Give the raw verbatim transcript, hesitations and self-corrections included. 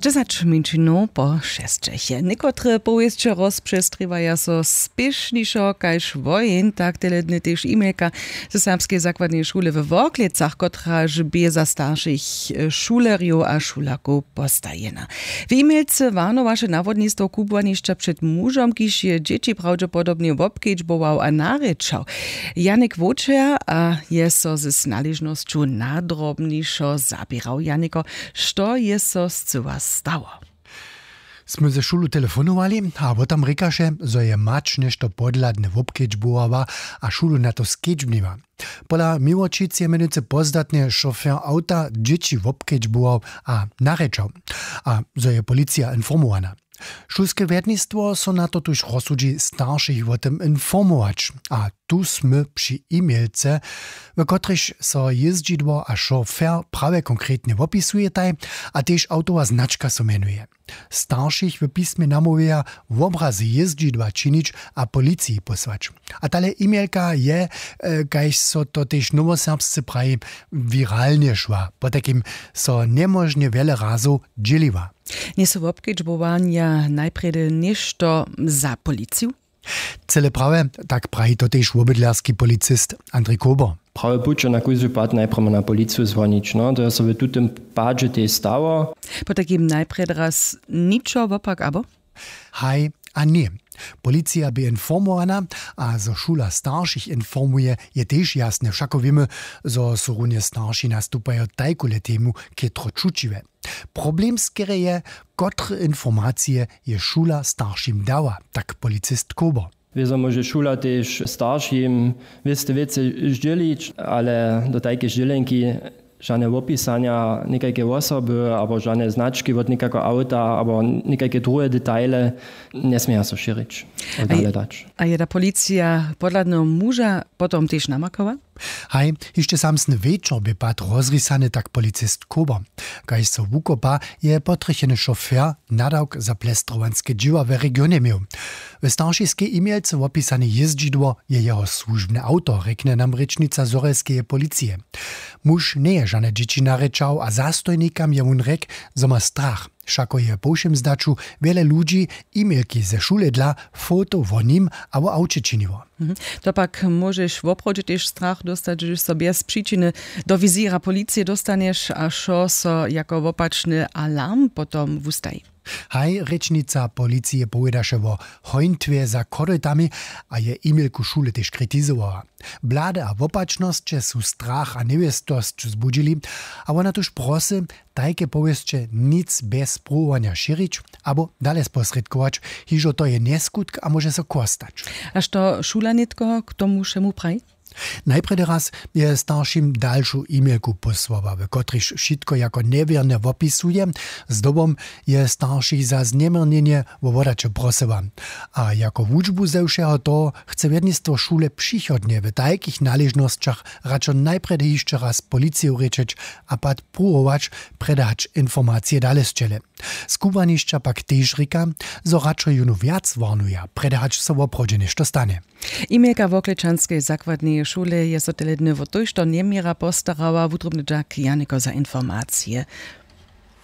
Dźesać mjeńšinow po šesćeche. Někotre powěsće rozpřestriwaja so spěšnišo kaž woheń, tak teledny tež e-mailka ze serbskeje zakładneje šule we Worklecach, kotraž bě za staršich, e, šulerjow a šulerkow postajena. W e-mailce warnowaše nawodnistwo kubłanišća před mužom, kiž je dźěći prawdźepodobnje wobkedźbował a narěčał. Janik Wočer a je so z naležnosću nadrobnišo zaběrał. Janiko, što je so scyła stało? Smy ze šulu telefonowali a wót tam rěkaše, zo je mać něšto podhladne wobkedźbowała a šulu na to skedźbniła. Pola miłočic je mjenujcy pozdatnje šofer awta dźěći wobkedźbował a narěčał, a zo je policija informowana. Šulske wjednistwo so na to tuž rozsudźi staršich wó tym informować, a tu smy při e-mailce, w kotrejž so jězdźidło a šofer prawje konkretnje wopišujetaj, a tež awtowa značka so mjenuje. Staršich w pismje namołwjeja, wobrazy jězdźidła činić a policiji pósłać. A tale e-mailka je, kaž so to tež nowoserbsce praji, wiralnje šła, potajkim so njemóžnje wjele razow dźěliła. Njejsu wobkedźbowanja najprjedy něšto za policiju? Cyle prawje, tak praji to tež wobydlerski policist Andrej Kober. Prawje puće na kóždy pad najprjedy na policiju zwonić, no to je so w tutym padźe tež stało. Potajkim najprjedy raz ničo wopak abo? Haj a ně. Policija bě informowana, a zo šula staršich informuje, je tež jasne. Wšako wěmy, zo su runje starši nastupajo tajkule temu chětro čućiwe. Problem skerje je, kotre informacije je šula staršim dała, tak policist Kober. Wězo móže šula tež staršim wěste wěcy zdźělić, ale do tajke zdźělenki žane wopisanja někajke wosoby abo žane znački wot někajkeho awta abo někajke druhe detaile njesměja so šěrić a dale dać. A je ta policija podhladneho muža potom tež namakała? Haj, hišće samsny wječor bě pad rozrisany, tak policist Kober. Kaž so wukopa, je potrjecheny šofer nadawk za plestrowanske dźěła w regionje měł. W staršiskej e-mailce wopisane jězdźidło je jeho słužbne awto, rjekny nam rěčnica zhorjelskeje policije. Muž njeje žane dźěći narěčał a zastojnikam je wón rjekł, zo ma strach. Wšako je po wšěm zdaću wjele ludźi e-mailki ze šule dla foto wo nim a wo awće činiło. To pak móžeš woprawdźe tež strach dóstać, hdyž so bjez přičiny do wizěra policije dóstanješ a wšo so jako wopačny alarm potom wustaji. Haj, rěčnica policije powědaše wo hońtwje za chodojtami a je e-mailku šule tež kritizowała. Blady a wopačnosće su strach a njewěstosć zbudźili, a wona tuž prosy, tajke powěsće nic bjez pruwowanja šěrić abo dale sposrědkować, hižo to je njeskutk a móže so chłostać. A što šula nětko k tomu wšemu praji? Najprjedy raz je staršim dalšu e-mailku pósłała, w kotrejž wšitko jako njewěrne wopisuje. Zdobom je staršich za zněměrnjenje wo wodaće prosyła. A jako wučbu ze wšeho toho chce wjednistwo šule přichodnje w tajkich naležnosćach radšo najprjedy hišće raz policiju rěčeć a pak pruwować, prjedy hač informacije dale sćele. Skubłanišća pak tež rěka, zo radšo jónu wjac warnuja, prjedy hač so woprawdźe něšto stanje. E-mailka Worklečanskeje zakładneje šule je so tele dny wot tójšto njeměra postarała. Wutrobny dźak, Janiko, za informacije.